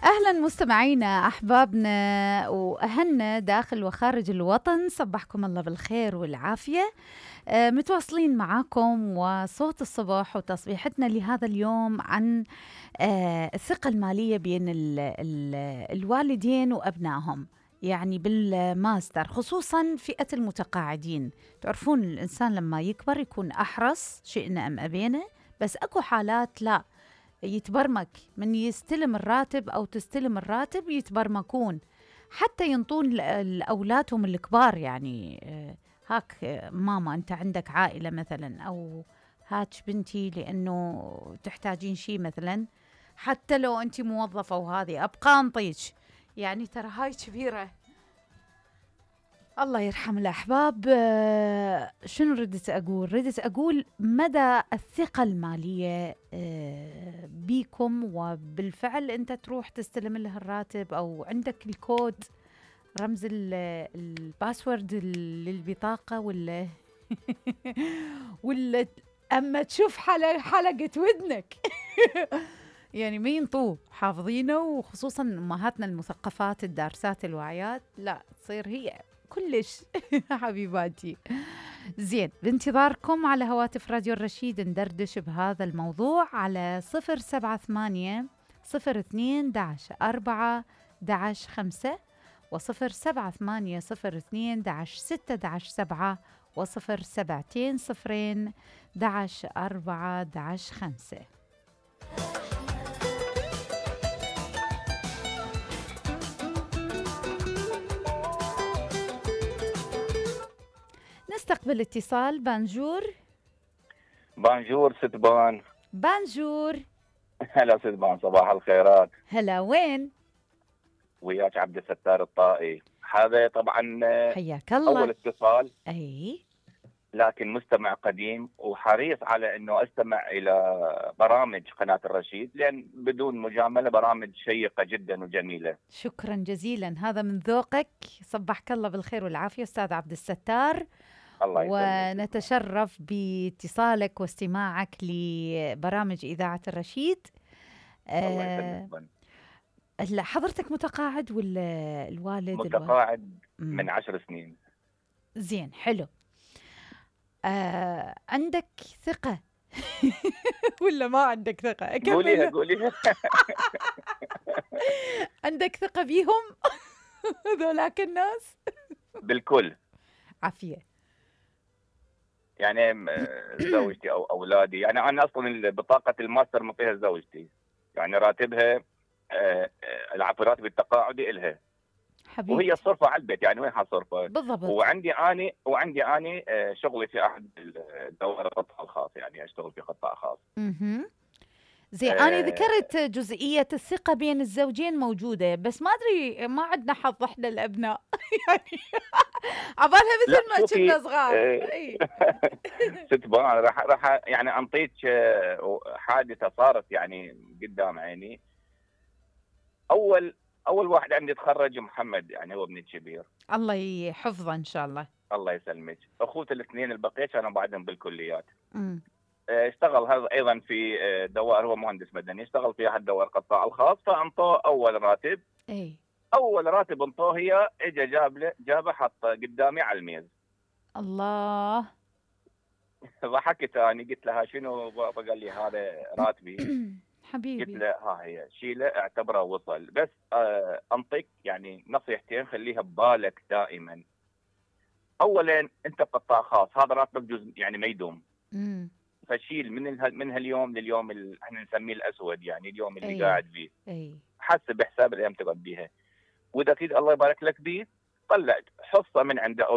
أهلا مستمعينا أحبابنا وأهلنا داخل وخارج الوطن، صبحكم الله بالخير والعافية. متواصلين معاكم وصوت الصبح وتصبيحتنا لهذا اليوم عن الثقة المالية بين الوالدين وأبنائهم، يعني بالماستر، خصوصا فئة المتقاعدين. تعرفون الإنسان لما يكبر يكون أحرص، شئنا أم أبينا، بس أكو حالات لا، يتبرمك من يستلم الراتب أو تستلم الراتب يتبرمكون حتى ينطون لأولادهم الكبار. يعني هاك ماما أنت عندك عائلة مثلا، أو هاتش بنتي لأنه تحتاجين شيء مثلا، حتى لو أنت موظفة وهذه أبقى أنطيك. يعني ترى هاي كبيرة. الله يرحم الأحباب. شنو ردت أقول مدى الثقة المالية بيكم، وبالفعل أنت تروح تستلم له الراتب أو عندك الكود، رمز الباسورد للبطاقة، ولا ولا أما تشوف حلقة ودنك يعني ما ينطوه حافظينه، وخصوصا أمهاتنا المثقفات الدارسات الواعيات لا تصير هي كلش حبيباتي. زين، بانتظاركم على هواتف راديو الرشيد ندردش بهذا الموضوع على 078 02 4 5 و078 02 6 7 و072 0 4 5. نستقبل اتصال. بانجور. بانجور ست بان. بانجور. هلا ست بان، صباح الخيرات. هلا، وين؟ وياك عبد الستار الطائي. هذا طبعا حياك الله. اول اتصال، اي لكن مستمع قديم وحريص على انه استمع الى برامج قناة الرشيد، لان بدون مجاملة برامج شيقة جدا وجميلة. شكرا جزيلا، هذا من ذوقك. صبحك الله بالخير والعافية استاذ عبد الستار. الله يسلمك. ونتشرف باتصالك واستماعك لبرامج إذاعة الرشيد. الله يسلمك. هلا حضرتك متقاعد ولا الوالد؟ متقاعد من 10 سنين. زين، حلو. عندك ثقة ولا ما عندك ثقة؟ قوليها. عندك ثقة بيهم ذولاك الناس؟ بالكل. عافية. يعني زوجتي او اولادي، يعني انا اصلا بطاقة الماستر مطيها زوجتي، يعني راتبها العفو راتب التقاعدي إلها حبيبتي، وهي صرفة على البيت. يعني وين حصرفة بالضبط؟ وعندي اني شغلي في احد الدوائر القطاع الخاص، يعني اشتغل في قطاع خاص. زين، أنا ذكرت جزئية الثقة بين الزوجين موجودة، بس ما أدري ما عندنا حظ إحنا الأبناء يعني عبالها مثل ما كنا صغار. ست بان راح يعني أنطيك حادثة صارت يعني قدام عيني. أول واحد عندي تخرج محمد، يعني هو ابني الكبير، الله يحفظه إن شاء الله. الله يسلمك. أخوته الاثنين البقية كانوا بعدهم بالكليات. اشتغل هذا ايضا في دوائر، هو مهندس مدني، اشتغل في احد دوائر القطاع الخاص، فانطوه اول راتب. اول راتب انطوه هي اجى جابه حط قدامي على الميز. الله. ضحكت اني، قلت لها شنو بابا؟ قال لي هذا راتبي حبيبي. قلت له ها هي شيله، اعتبره وصل. بس انطيك يعني نصيحتين خليها ببالك دائما. اولا انت قطاع خاص، هذا راتبك جزء يعني ما يدوم. فشيل من هاليوم لليوم احنا نسميه الاسود، يعني اليوم اللي قاعد فيه. حسب حساب الايام تقعد بيها، واذا تريد الله يبارك لك بيه طلع حصه من عنده او